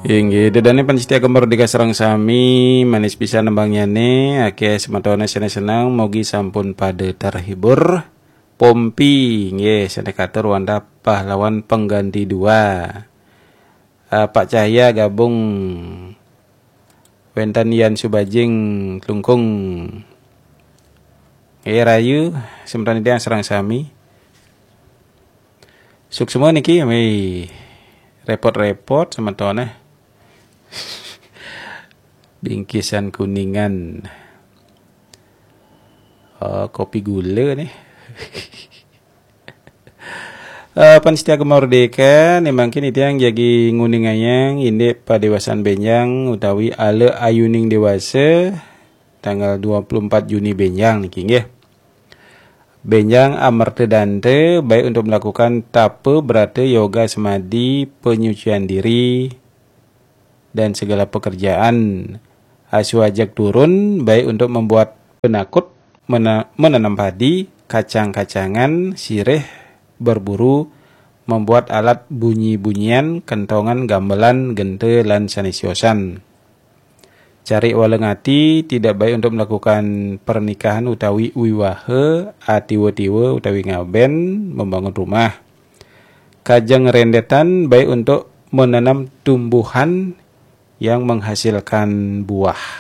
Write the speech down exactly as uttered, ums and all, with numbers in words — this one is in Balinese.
Inggih, ida dané pamiarsa Gema Merdeka sareng sami, manis pisan nembangnyané, akéh semetoné sané seneng, mugi sampun pada terhibur. Pompi, nggih, sané katur wantah pahlawan pengganti dua. Eh, Pak Cahya gabung wénten Yan Subajing Klungkung. Nggih, rahayu semeton titiang sareng sami. Suksma niki, wéh, repot-repot semetoné. Bingkisan Kuningan. Oh, kopi gula nih. Eh, pamiarsa Gema Merdeka, né mangkin titiang jagi nguningayang indik padéwasan bénjang utawi ala ayuning déwasa tanggal dua puluh empat Juni bénjang niki nggih. Bénjang amerta danta baik untuk melakukan tapa brata yoga semadi penyucian diri dan segala pekerjaan. Asuh ajeg turun baik untuk membuat penakut, mena-, menanam padi, kacang-kacangan, sirih, berburu, membuat alat bunyi-bunyian, kentongan, gamelan, genta, lan sané siosan. Cari waleng ati, tidak baik untuk melakukan pernikahan utawi wiwaha, atiwa-tiwa utawi ngabén, membangun rumah. Kajeng rendetan baik untuk menanam tumbuhan yang menghasilkan buah.